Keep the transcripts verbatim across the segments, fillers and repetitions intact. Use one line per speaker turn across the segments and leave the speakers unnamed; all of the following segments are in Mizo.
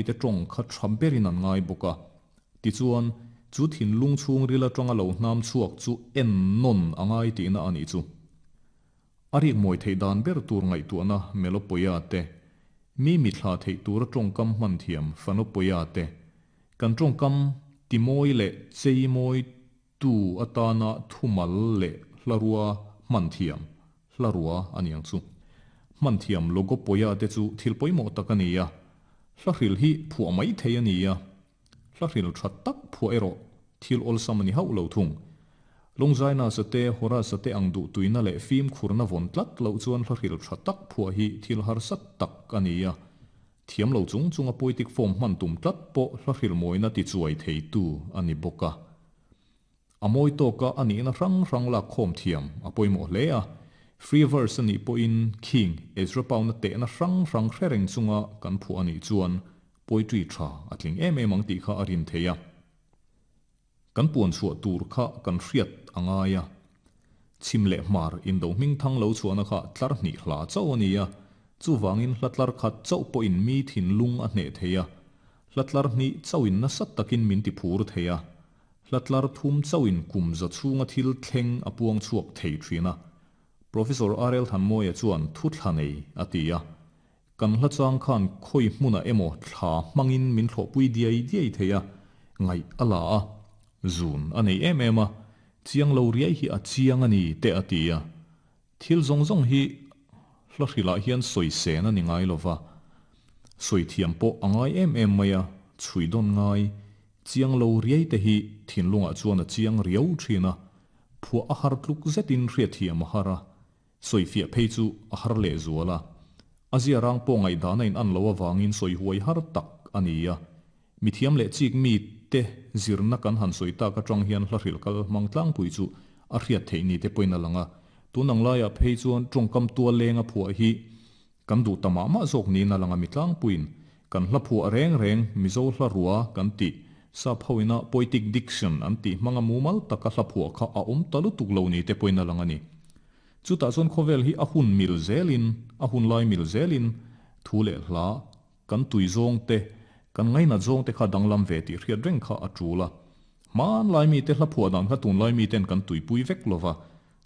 mite tawng kha tha berin an ngai bawk a. Tichuan, chu thinlung chhungril atanga lo hnam chhuak chu ennawn a ngai tihna a nih chu. A rik mawi theih dan ber tur ngaihtuahna Melopoia te, mi mithla theih tura tawngkam hman thiam Fanopoia te, kan tawngkam timawi leh cheimawi tu atana thumal leh hlarua hman thiam Hlarua a ni ang chu. Hman thiam Logopoia te chu thil pawimawh tak a ni a, hlahril hi phuah mai thei a ni a, hlahril tha tak phuah erawh thil awlsam a ni hauh lo thung. Longzaina sate, Horace te ang duh tuina leh fimkhurna vawn tlat loh chuan hlahril tha tak phuah hi thil harsa tak a ni a, thiam lo chung chunga poetic form hman tum tlat pawh hlahril mawina tichuai theitu a ni bawk a. A mawi tawka a nihna hrang hrang lak khawm thiam a pawimawh hle a, free verse a nih pawhin khing Ezra Pound-a tehna hrang hrang hre reng chunga kan phuah a nih chuan poetry tha a tling em em ang tih kha a rin thei a. Kan puan chhuah tur kha kan hriat a ngai a. Chhim leh hmar indo hming thang lo chhuahna kha tlar hnih hla chauh a ni a, chuvangin hla tlar khat chauh pawhin mi thinlung a hneh thei a, hla tlar hnih chauhin nasa takin min ti phur thei a, hla tlar thum chauhin kum za chhunga thil thleng a puang chhuak thei thin a. Professor R L Thanmawia chuan thu thla nei a ti a, kan hla chang khan khawi hmunah emaw thla hmangin min thlawhpui diai diai thei a, ngaih a la a, zun a nei em em a, chiang lo riai hi a chiang a ni te a ti a. Thil zawng zawng hi hla hrilah hian sawi sen a ni ngai lova, sawi thiam pawh a ngai em em mai a, chhui dawn ngai, chiang lo riai te hi thinlungah chuan a chiang riau thin a, phuah a har tluk zetin hriatthiam a har a, sawi fiah phei chu a har leh zual a. A zia rang pawh ngaihdana in an lo avangin sawi huai har tak a ni a. Mithiam leh chik mi te zirna kan han sawi tak atang hian hla hril kal hmang tlangpui chu a hriat theih ni te pawhin a lang a. Tun ang laiah phei chuan tawngkam tual lenga phuah hi kan duh ta mah mah zawk niin a lang a, mi tlangpuiin kan hla phuah reng reng Mizo hla rua kan tih sap hoina poetic diction an tih hmanga mumal taka hla phuah kha a awm ta lutuk lo ni te pawhin a lang a ni. Chutah chuan khawvel hi a hun mil zelin, a hun lai mil zelin thu leh hla kan tui zawng te, kan ngaina zawng te kha danglam ve tih hriat reng kha a tul a. Hman lai mi te hla phuah dan kha tun lai mi ten kan tuipui vek lova,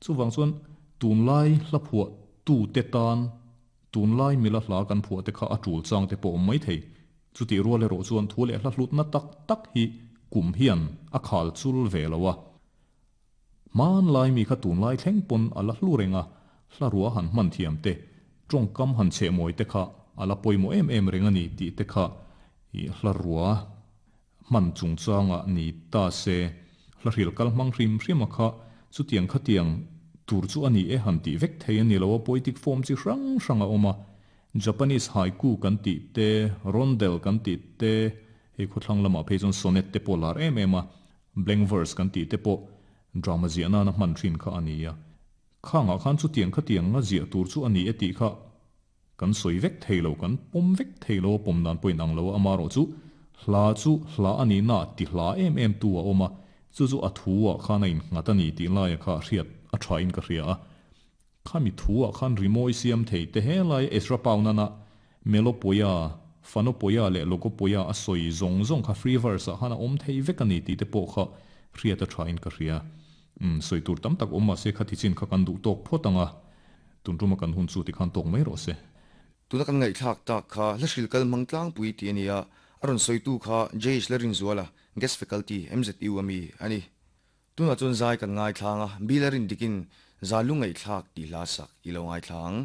chuwang chuan tun lai hla phuah tu te tan tun lai mila hla kan phuah te kha a tul chang te pawh awm mai thei. Chuti rual erawh chuan thu leh hla hlutna tak tak hi kum hian a khal chul ve lo a. Man lai mi kha tun lai thleng pawn a la hlu reng a, hla rua han hman thiam te, tawngkam han cheh mawi te kha a la pawimawh em em reng a ni tih te kha i hla rua hman chungchanga ni ta se, hla hril kal hmang hrim hrim a kha chutiang khatiang tur chu a ni e han tih vek thei a ni lo a, poetic form chi hrang hrang a awm a. Japanese haiku kan tih te, rondel kan tih te, hei khawthlang lamah phei chuan sonnet te pawh lar em em a, blank verse kan tih te pawh drama ziahna na hman thin kha a ni a. Khangah khan chutiang khatiang nga ziah tur chu a ni e tih kha kan sawi vek thei lo, kan pawm vek thei lo, pawm dan pawhin ang lo a, ama erawh chu hla chu hla a ni na ti hla em em tu a awm a, chu chu a thu ah khan a innghat a ni tih laia kha hriat a tha in ka hria a. Khami thu ah khan rimawi siam thei te he lai Ezra Pound-ana Melopoia, Fanopoia leh Logopoia a sawi zawng zawng kha free verse ah khan a awm thei vek a ni tih te pawh kha hriat a tha in ka hria. Um, sawi tur tam tak awm mahse kha tichin kha kan duh tawk phawt ang a, tun tuma kan hun chu ti khan tawk mai rawh se.
Tuna kan ngaihthlak tak kha hla hril kal hmang tlangpui tih a ni a, a rawn sawitu kha J H Larinzuala, Guest Faculty, M Z U ami a ni. Tunah chuan zai kan ngaithlang a, Bill a rin dikin za lu ngaihthlak tih hla sak i lo ngaithlang.